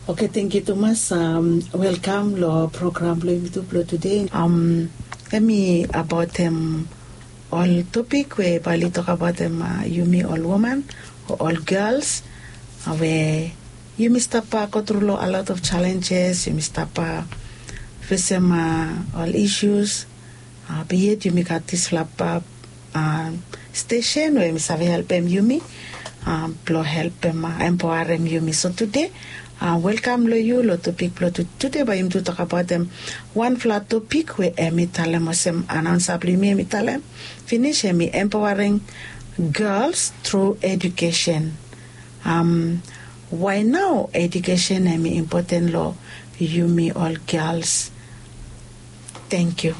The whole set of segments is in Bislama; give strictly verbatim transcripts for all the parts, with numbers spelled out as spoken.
Oke, tengkiu tumas. Welkam long program blong yumi tu blong tude. Em i abaotem ol topik we bae oli tokbaotem yumi ol woman o ol gels we yumi stap go tru long a lot of challenges, yumi stap fesem ol isus. Be yet yumi gat disfala stesen we yumi save helpem yumi blong helpem, empaoarem yumi. So tude, welkam long yu long topik blong tude. Bae yumi tu tokbaotem wanfala topik we em i talem olsem, anaonsa blong yumi em i talem finis, em i empowering girls through education. Wae nao edukesen em i impoten long yumi ol gels? Tengkiu.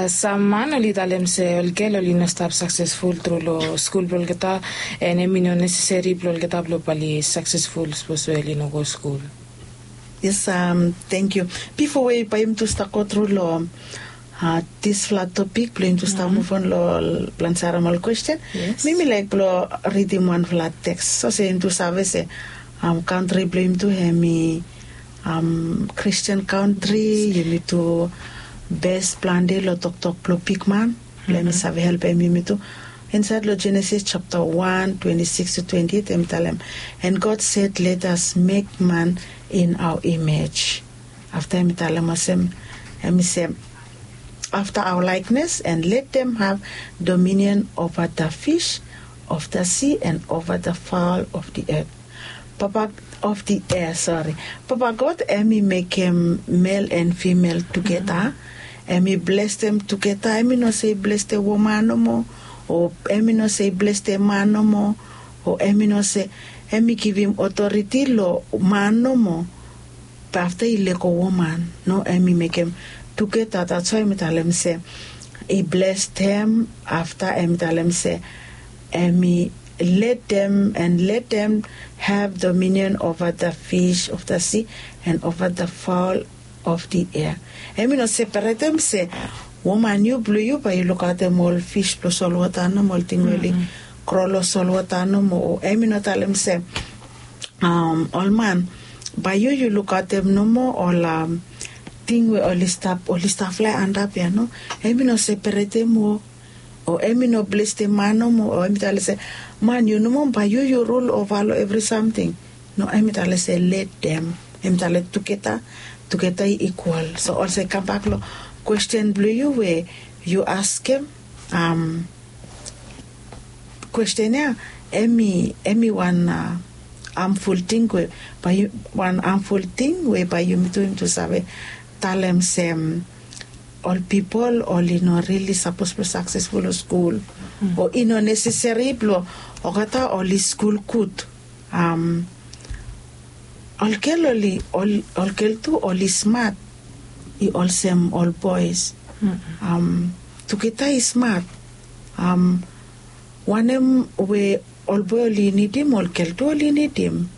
Sam man oli talem se ol gel oli no stap saksesful tru long skul blong olgeta, and em i no neseseri blong olgeta blong bae oli saksesful sapos we oli no go skul. Yes, tengkiu. Bifo we bae yumi tu stap go tru long disfala topik blong yumi tu stap muvon long ol plan saram ol kwesten, mi mi laek blong ridim wanfala teks. Olsem yumi tu save se kantri blong yumi tu em i Kristian kantri, yumi tu bes plante long toktok blong bigman blong em i save helpem yumi tu. Insaed long Jenesis japta wan twenti sikis tu twenti eit em i talem, "And God said, let us make man in our image." Afta em i talem olsem, em i se, "After our likeness, and let them have dominion over the fish of the sea and over the fowl of the earth." Papa of the air, sori. Papa God em i mekem mel and fimel tugeta. Em i blestem tugeta. Em i no se i blestem woman nomo, o em i no se i blestem man nomo, o em i no se em i givim otoriti long man nomo. Be afta i lego woman, no, em i mekem tugeta. That's why em i talem se i blestem. Afta em i talem se em i let them and let them have dominion over the fish of the sea and over the fowl of the air. Em i no separetem se woman, yu blong yu bae yu lukaotem ol fis blong solwota nomo, ol ting we oli kro long solwota nomo. O em i no talem se ol man, bae yu yu lukaotem nomo ol ting we oli stap, oli stap flae antap ya, no. Em i no separetem o, o em i no blestem man nomo, o em i talem se man, yu nomo bae yu yu rul ova long evri samting. No, em i talem se let them. Em i talem tugeta, tugeta i ikwal. So olsem kambak long kwesten blong yu we yu askem, kwesten ya em i, em i wan hamful ting we bae yu, wan hamful ting we bae yumi tu, yumi tu save talem se ol pipol oli no rili sapos blong saksesful long skul. O i no neseseri blong olgeta oli skul gud. Ol gel oli, ol gel tu oli smat i olsem ol boes. Tugeta i smat. Wanem we ol boe oli nidim, ol gel tu oli nidim.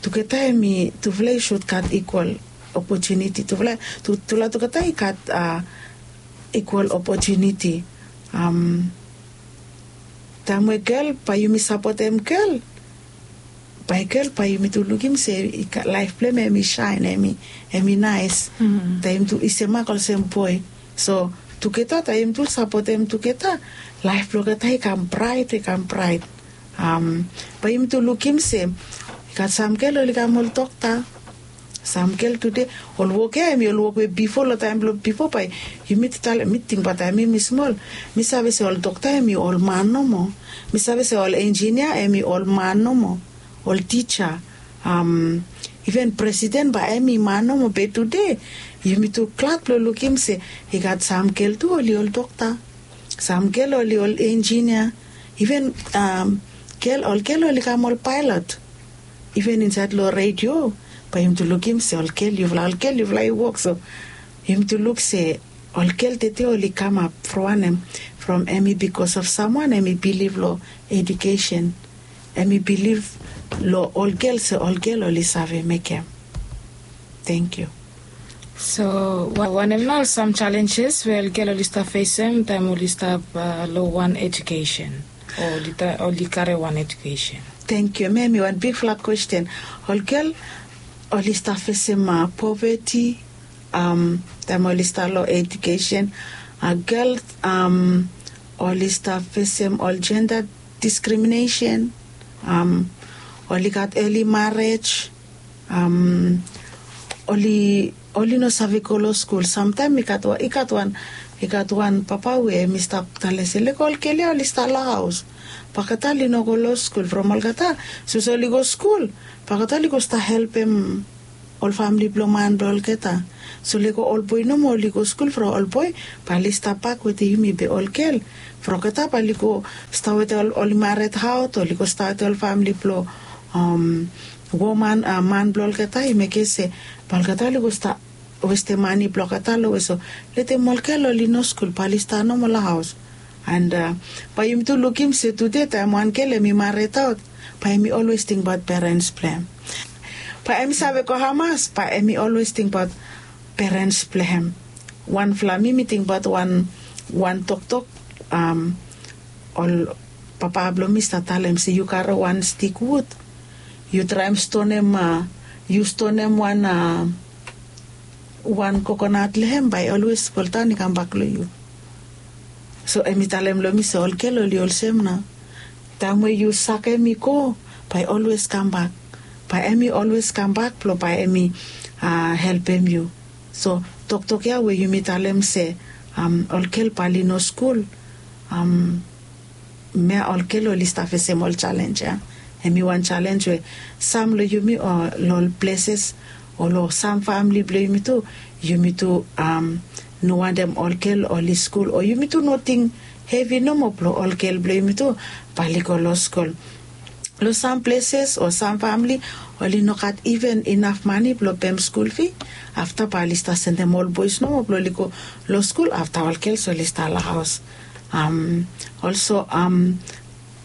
Tugeta em i, tufala i sud gat ikwal opotuniti. Tufala, tufala tugeta i gat ikwal opotuniti. Taem we gel, bae yumi sapotem gel, bae gel, bae yumi tu lukim se laef blong hem em i saen, hem i naes. Taem yumi tu i semak olsem boe. So tugeta, taem yumi tu sapotem tugeta, laef blong olgeta i kam braet, i kam braet. Bae yumi tu lukim se i gat sam gel oli kam ol dokta. Sam gel tude, ol wok ya em i ol wok we bifo, long taem blong bifo, bae yumi tu talem, mi tingbaot taem mi mi smol, mi save se ol dokta em i ol man nomo. Mi save se ol enjinia em i ol man nomo, ol tija, iven presiden bae em i man nomo. Be tude yumi tu glad blong lukim se i gat sam gel tu oli ol dokta, sam gel oli ol enjinia, iven gel, ol gel oli kam ol paelot. Iven insaed long redio, bae yumi tu lukim se ol gel, yufala ol gel, yufala i wok. So yumi tu luk se ol gel tede oli kamap from wanem? From em i bikos of samwan em i bilif long edukesen. Em i bilif long ol gel se ol gel oli save mekem. Tengkiu. So wanem nao ol sam jalenjes we ol gel oli stap fesem taem oli stap long wan edukesen, o oli karem wan edukesen? Tengkiu. Em ya em i wan bigfala kwesten. Ol gel oli stap fesem poveti taem oli stap long ejukesen. Gel oli stap fesem ol jenda diskriminesen. Oli gat eli marej. Oli oli no save go long skul samtaem i gat wan i gat wan i gat wan papa we em i stap tale se lego ol gel ya oli stap long haos. Bageta oli no go long skul from olgeta. Sapos oli go skul bageta oli go stap helpem ol famili blong man blong olgeta. So lego ol boe nomo oli go skul from ol boe bae oli stap bak wetem yumi be ol gel from olgeta bae oli go stap wetem ol oli mared haot oli go stap wetem ol famili blong woman man blong olgeta i mekem se bae olgeta oli go stap westem mane blong olgeta long we so letem ol gel oli no skul bae oli stap nomo long haos. And bae yumi tu lukim se tude taem wan gel em i mared aot bae em i olwes tingbaot perens blong hem. Bae em i save go hamas bae em i olwes tingbaot perens blong hem. Wanfala mi mi tingbaot wan wan toktok ol papa blong mi stap talem se yu karem wan stik wud yu traem stonem yu stonem wan wan kokonat long hem bae i olwes foldaon i kambak long yu. So em i talem long mi se ol gel oli olsem nao taem we yu sakem i go bae i olwes kambak. Bae em i olwes kambak blong bae em i helpem yu. So toktok ya we yumi talem se ol gel bae oli no skul. Mea ol gel oli stap fesem ol jalenj ya. Em i wan jalenj we sam long yumi o long ol pleses o long sam famili blong yumi tu yumi tu no wantem ol gel oli skul o yumi tu no ting hevi nomo blong ol gel blong yumi tu bae oli go long skul. Long sam pleses o sam famili oli no gat iven inaf mane blong pem skul fi. Afta bae oli stap sendem ol boes nomo blong oli go long skul afta ol gels oli stap long haos. Olso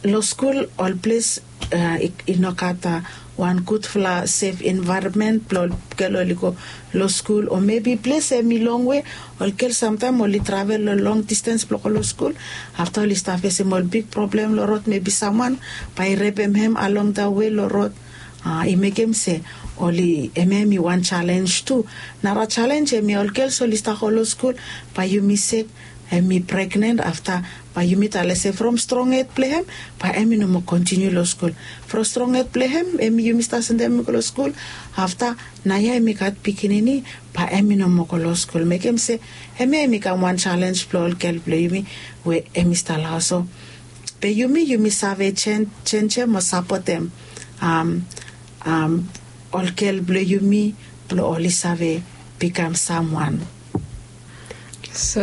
long skul ol ples i no gat wan gudfala sef envaeronmen blong ol gel oli go long skul o mebi ples em i longwe. Ol gel samtaem oli travel long long distens blong go long skul afta oli stap fesem ol big problem long rod mebi samwan bae i repem hem along da we long rod. I mekem se oli em ya em i wan jalenj tu. Nara jalenj em ya ol gels oli stap go long skul bae yumi sek em i pregnen afta bae yumi tale se from strong hed blong hem bae em i no moa kontiniu long skul. From strong hed blong hem em yumi stap sendem hem i go long skul afta naoia em i gat pikinini bae em i no moa go long skul mekem se em ya em i kam wan jalenj blong ol gel blong yumi we em i stap long haos. So be yumi yumi save jenjem o sapotem ol gel blong yumi blong oli save bikam samwan. So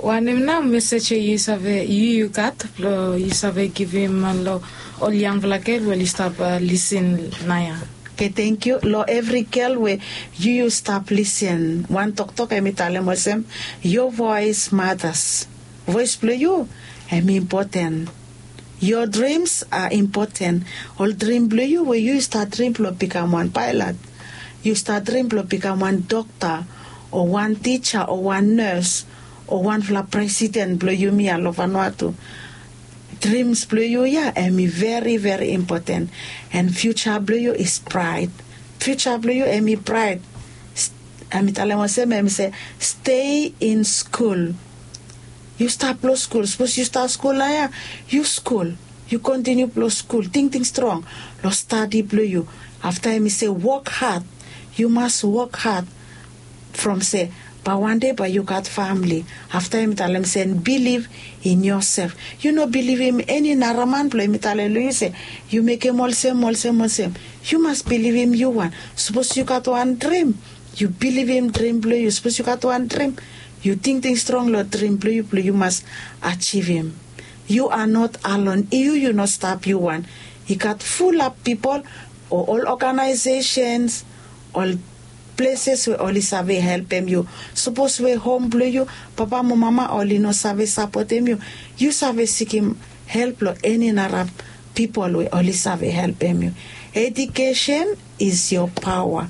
wanem nao mesej we yu save yu yu gat blong yu save givim long ol yangfala gel we oli stap lisin naoia? Oke tengkiu long evri gel we yu yu stap lisin wan toktok em i talem olsem, yo voes matas. Voes blong yu em i impoten. Yo drims a impoten. Ol drim blong yu we yu yu stap drim blong bikam wan paelat, yu stap drim blong bikam wan dokta o wan tija o wan nes o wanfala presiden blong yumi ya long vanua tu. Drims blong yu ya em i veri veri impoten. An fiuja blong yu is braet. Fiuja blong yu em i braet. Em i talem olsem em i se stei in skul. Yu stap long skul sapos yu stap skul naoia, yu skul, yu kontiniu blong skul tingting strong long stadi blong yu. Afta em i se wok had. Yu mas wok had from se bae wande bae yu gat famili. Afta em i talem se biliv in yosef. Yu no bilivim eni naraman blong em i talem long yu se yu mekem olsem olsem olsem. Yu mas bilivim yu wan. Sapos yu gat wan drim, yu bilivim drim blong yu sapos yu gat wan drim, yu tingting strong long drim blong yu blong yu mas ajivim. Yu a not alon yu yu no stap yu wan. I gat fulap pipol o ol oganaesesens, ol pleses we oli save helpem yu. Sapos we hom blong yu papa mo mama oli no save sapotem yu, yu save sikim help long eni nara pipol we oli save helpem yu. Ejukesen is yo paoa.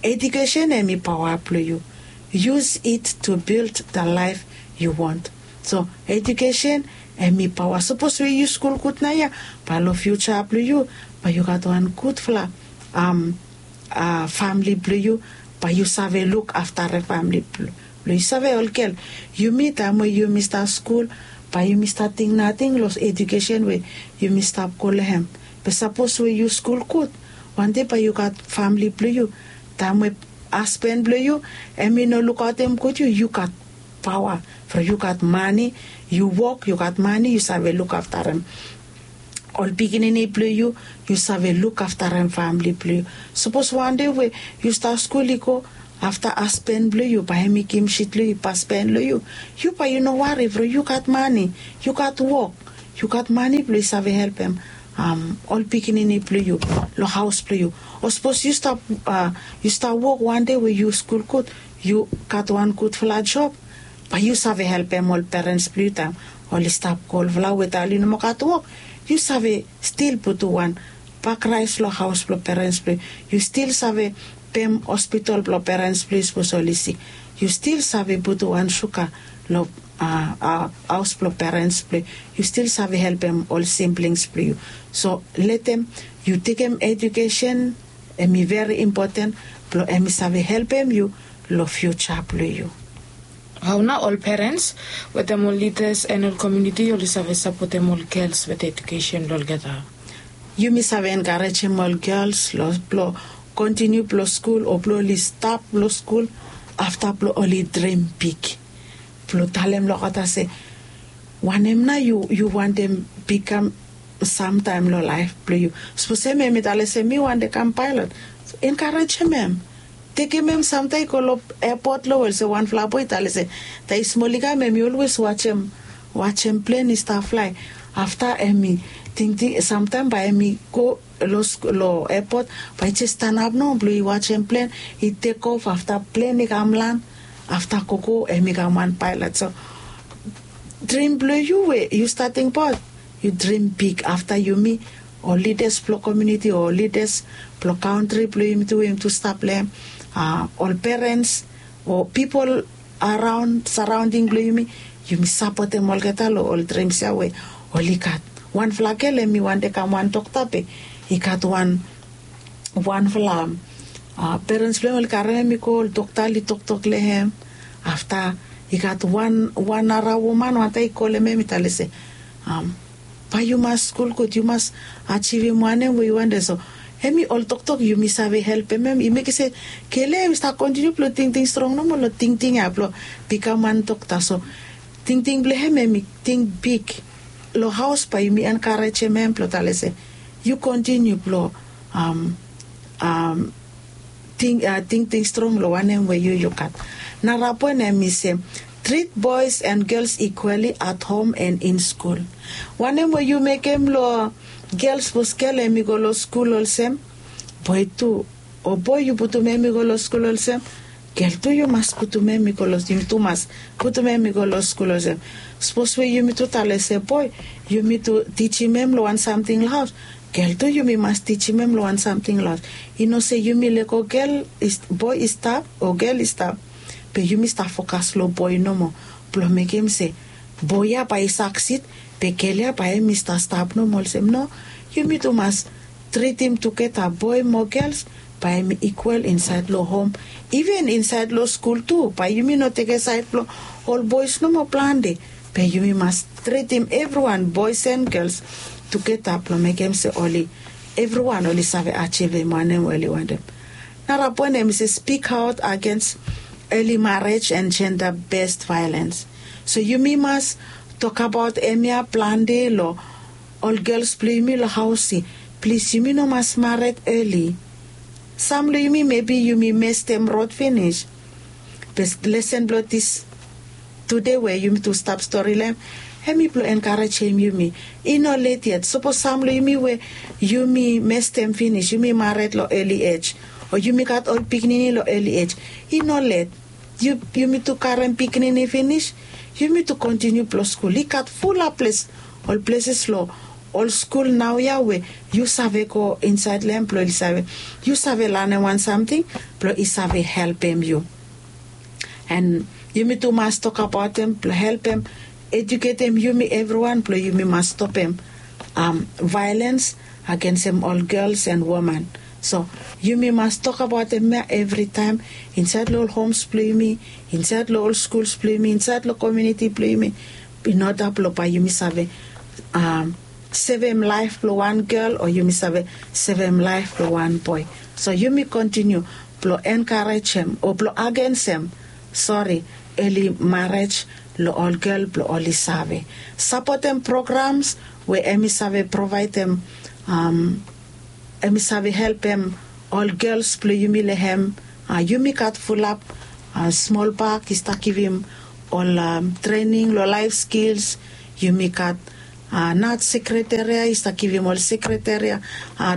Ejukesen em i paoa blong yu. Yus it tu bild da laef yu wont. So ejukesen Em i paoa sapos we yu skul gud nao ya, bae long fiuja blong yu bae yu gat wan gudfala famili blong yu. Bae yu save luk aftarem famili blong yu save ol gel, yumi taem we yumi stap skul bae yumi stap ting nating long ejukesen we yumi stap go long hem. Be sapos we yu skul gud, wande bae yu gat famili blong yu. Taem we hasben blong yu em i no lukaotem gud yu, yu gat paoa from yu gat mane, yu wok yu gat mane yu save lukaftarem ol pikinini blong yu, yu save lukaftarem famili blong yu. Sapos wande we yu stap skul i go afta hasben blong yu bae em i gim sit long yu i pasben long yu, yu bae yu no wari from yu gat mane, yu gat wok, yu gat mane blong yu save helpem ol pikinini blong yu long haos blong yu. O sapos yu stap wok wande we yu skul gud, yu gat wan gudfala job, bae yu save helpem ol perens blong yu taem oli stap go olfala we taem oli no moa gat wok, yu save stil putum wan bak raes long haos blong perens blong yu, yu stil save pem hospital blong perens blong yu sapos oli sik, yu stil save putum wan suga long haos blong perens blong yu, yu stil save helpem ol simblings blong yu. So letem yu tekem ejukesen, em i veri impoten blong em i save helpem yu long fiuja blong yu. Hao nao ol perens wetem ol lidas en ol komiuniti oli save sapotem ol gels wetem ejukesen blong olgeta? Yumi save enkarejem ol gels blong kontiniu blong skul o blong oli stap long skul afta blong oli drim big, blong talem long olgeta se wanem nao yu wantem bikam samtaem long laef blong yu? Sapos em em i talem se mi wantem kam paelot, enkarejem em. Tekem em samtaem i go long epot long we olsem wanfala boi i talem se taem i smol i kam em i olwes wajem plen i stap flae. Afta em i tingting samtaem bae em i go long epot, bae i jes stanap nao blong i wajem plen i tekof afta plen i kam lan, afta gogo em i kam wan paelot. So drim blong yu we yu stap tingbaot, yu drim big afta yumi ol lidas blong komiuniti o ol lidas blong kantri blong yumi tu we yumi tu stap long hem, ol perens o pipol araon saraonding blong yumi, yumi sapotem olgeta long ol drims ya we oli gat. Wanfala gel em i wantem kam wan dokta be i gat wan wanfala perens blong hem oli karem hem i go ol dokta oli toktok long hem. Afta i gat wan nara woman wantaem i kolem hem i talem se bae yu mas skul gud, yu mas ajivim wanem we yu wantem. So em i ol toktok yumi save helpem hem i mekem se gel ya em i stap kontiniu blong tingting strong nomo long tingting ya blong bikam wan dokta. So tingting blong hem em i ting big long haos bae yumi enkarejem hem blong talem se yu kontiniu blong tingting strong long wanem we yu yu gat. Nara poen em i se trit boes en gels ikwali at hom en in skul. Wanem we yu mekem long gel sapos gel em i go long skul olsem, boi tu o boi yu putum em i go long skul olsem, gel tu yu mas putum em i go long yumi tu mas putum em i go long skul olsem. Sapos we yumi tu talem se boi yumi tu tijim em long wan samting long haos, gel tu yumi mas tijim em long wan samting long haos. I no se yumi lego gel boi i stap o gel i stap, be yumi stap fokas long boi nomo blong mekem se boi ya bae i saksid be gel ya bae em i stap stap nomo olsem no. Yumi tu mas tritim tugeta boi mo gels bae em i ikwal insaed long hom, iven insaed long skul tu bae yumi no tekem saed blong ol boes nomo plante. Be yumi mas tritim evriwan boes en gels tugeta blong mekem se oli evriwan oli save ajivim wanem we oli wantem. Nara poen em i se spik aot agens eli marej en jenda bes vaelens. So yumi mas tokabaot em ya plante long ol gels blong yumi long haos se plis yumi no mas mared eli. Sam long yumi mebi yumi mestem rod finis. Be lesen blong dis tude we yumi tu stap stori long em, em i blong enkarejem yumi. I no let yet sapos sam long yumi we yumi mestem finis yumi mared long eli ej o yumi gat ol pikinini long eli ej, i no let. Yumi tu karem pikinini finis, yumi tu kontiniu blong skul i gat fula ples ol pleses long ol skul naoia we yu save go insaed long em blong oli save yu save lanem wan samting blong i save helpem yu. An yumi tu mas tokabaotem blong helpem ejuketem yumi evriwan blong yumi mas stopem vaelens agensem ol gels en woman. So yumi mas tokabaotem ya evritaem insaed long ol homs blong yumi, insaed long ol skuls blong yumi, insaed long komiuniti blong yumi, in oda blong bae yumi save sevem laef blong wan gel o yumi save sevem laef blong wan boe. So yumi kontiniu blong enkarejem o blong agensem sori, eli marej long ol gel blong oli save sapotem programs we em i save provaedem, em i save helpem ol gels blong yumi long hem. Yumi gat fulap smol bak i stap givim ol trening long laef skils. Yumi gat nat sekreteria i stap givim ol sekreteria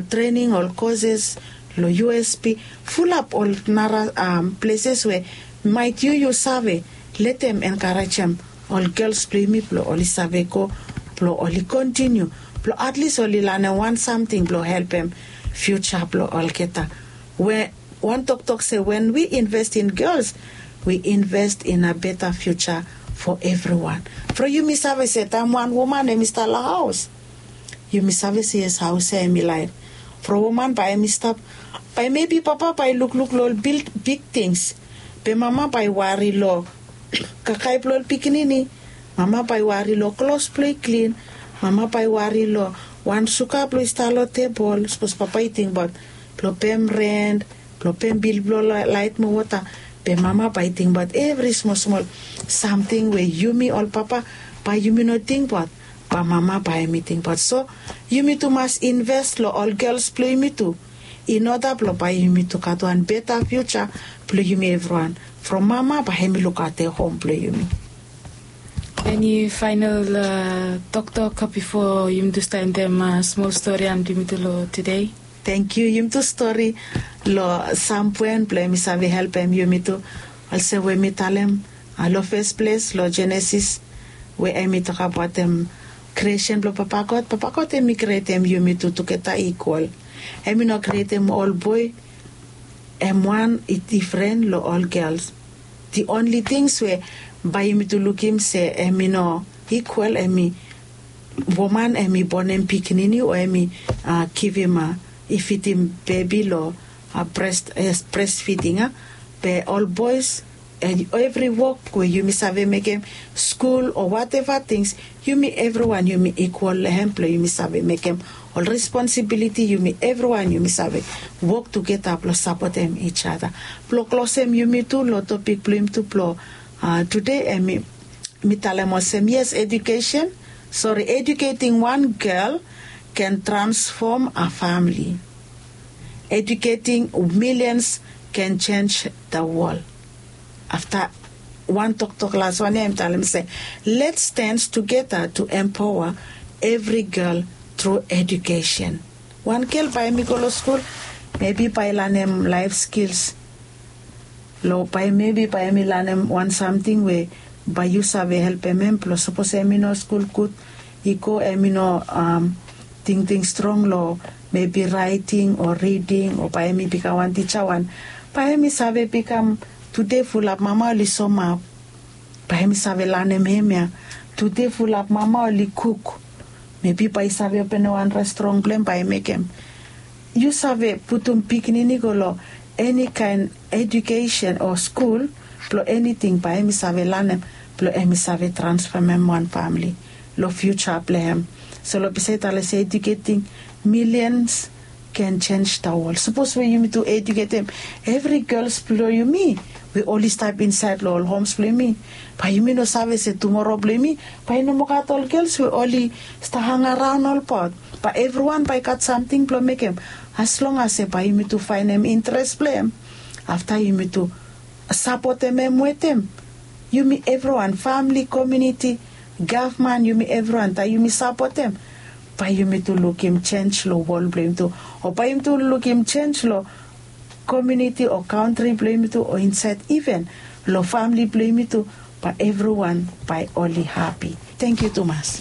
trening, ol koses long usp, fulap ol nara pleses we maet yu yu save letem enkarejem ol gels blong yumi blong oli save go blong oli kontiniu blong atlis oli lanem wan samting blong helpem fiuja blong olgeta. We wan toktok se wen wi inves in gels, wi inves in a beta fiuja fo evriwan. From yumi save se taem wan woman em i stap long haos, yumi save se yes, haos ya em i laet. From woman bae em i stap, bae mebi papa bae i lukluk long ol big tings, be mama bae i wari long kakae blong ol pikinini. Mama bae i wari long klos blong i klin. Mama bae i wari long wan suga blong i stap long tebol sapos papa i tingbaot blong pem rent, blong pem bil blong laet mo wota. Be mama bae i tingbaot evri smol smol samting we yumi ol papa bae yumi no tingbaot, bae mama bae em i tingbaot. So yumi tu mas inves long ol gels blong yumi tu, in oda blong bae yumi tu gat wan beta fiuja blong yumi evriwan. From mama bae em i lukaotem hom blong yumi. Eni faenol toktok bifo yumi tu stap endem smol stori antimitu long tude? Tangkiu. Yumi tu stori long sam puen blong em i save helpem yumi tu. Olsem we mi talem long fes ples long jenesis, we em i tokabaotem kriesen blong papa god. Papa god em i krietem yumi tu tugeta ikwal. Em i no krietem ol boe em wan i difren long ol gels. Di onli tings we bae yumi tu lukim se em i no ikwal em i woman em i bonem pikinini o em i givim, i fidim bebi long bres fiding a. Be ol boes, evri wok we yumi save mekem, skul o wateva tings, yumi evriwan yumi ikwal long hem blong yumi save mekem ol responsibiliti. Yumi evriwan yumi save wok tugeta blong sapotem ijada. Blong klosem yumi tu long topik blong yumi tu blong tude, em mi talem olsem yes, edukesen, sori, eduketing wan gel ken transfom a famili. Eduketing milians ken jenj da wol. Afta wan toktok las wan ya em talem se, lets stens tugeta tu empaoa evri gel tru edukesen. Wan gel bae em i go long skul, mebi bae i lanem laef skils. Long bae mebi bae em i lanem wan samting we bae yu save helpem em blong sapos em i no skul gud, i go em i no tingting strong long mebi raeting o riding o bae em i bikam wan tija wan, bae em i save bikam tude fulap mama oli somap. Bae em i save lanem hemia, tude fulap mama oli kuk. Mebi bae i save openem wan restoran blong em bae i mekem. Yu save putum pikinini go long eni kaen edukesen o skul blong eniting bae em i save lanem blong em i save transfomem wan famili long fiuja blong em. So long bisaed tale se eduketing milians ken jenj da wol. Sapos we yumi tu eduketem evri gels blong yumi we oli stap insaed long ol homs blong yumi, bae yumi no save se tumoro blong yumi bae i no moa gat ol gels we oli stap hangaraon olbaot. Bae evriwan bae i gat samting blong mekem, as long as se bae yumi tu faenem intres blong em. Afta yumi tu sapotem em wetem yumi evriwan, famili, komiuniti, gavman, yumi evriwan taem yumi sapotem, bae yumi tu lukim jenj long wol blong yumi tu, o bae yumi tu lukim jenj long komiuniti o kantri blong yumi tu o insaed iven long famili blong yumi tu. Bae evriwan bae oli hapi. Tangkiu tumas.